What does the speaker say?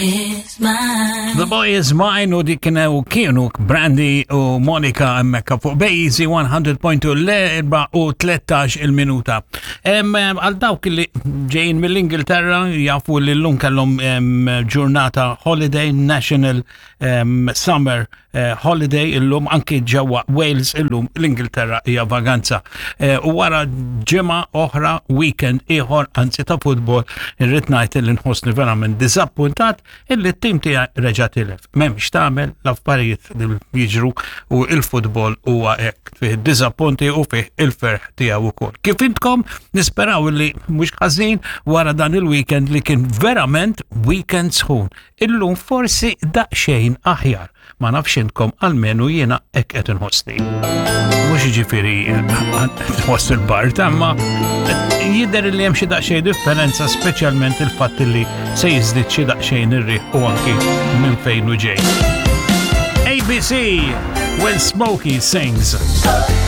Is mine. The Boy Is Mine u dik kienu kienu Brandy u Monica hemmhekk fuq Bejzi 100.2 l-4 u 13 il-minuta. Għal dawk li ġejjin mill-Ingilterra jafu li llum kellhom ġurnata holiday National Summer eh, holiday illum anki ġewwa Wales illum l-Ingilterra hija vaganza. Eh, u wara ġimgħa oħra weekend ieħor anzi ta' futbol irrid ngħid li nħossni verament diżappuntat illi t-tim tiegħi reġa' tilef. M'hemmx tagħmel l-affarijiet li jiġru u il-futbol huwa hekk fih diżappunti u fih il-ferħ tiegħu wkoll. Kif intkom nisperaw li mhux ħażin wara dan il-weekend li kien verament weekend sħun. Illum forsi daqsxejn aħjar. Ma nafx intkom almenu jiena hekk qed inħossni. Mhux jiġifieri tħoss il-bart, imma jidher li hemm xi daqsxejn differenza speċjalment il-fatt li se jiżdied xi daqsxejn ir-riħ u anki minn fejn u ġej. ABC When Smokey Sings.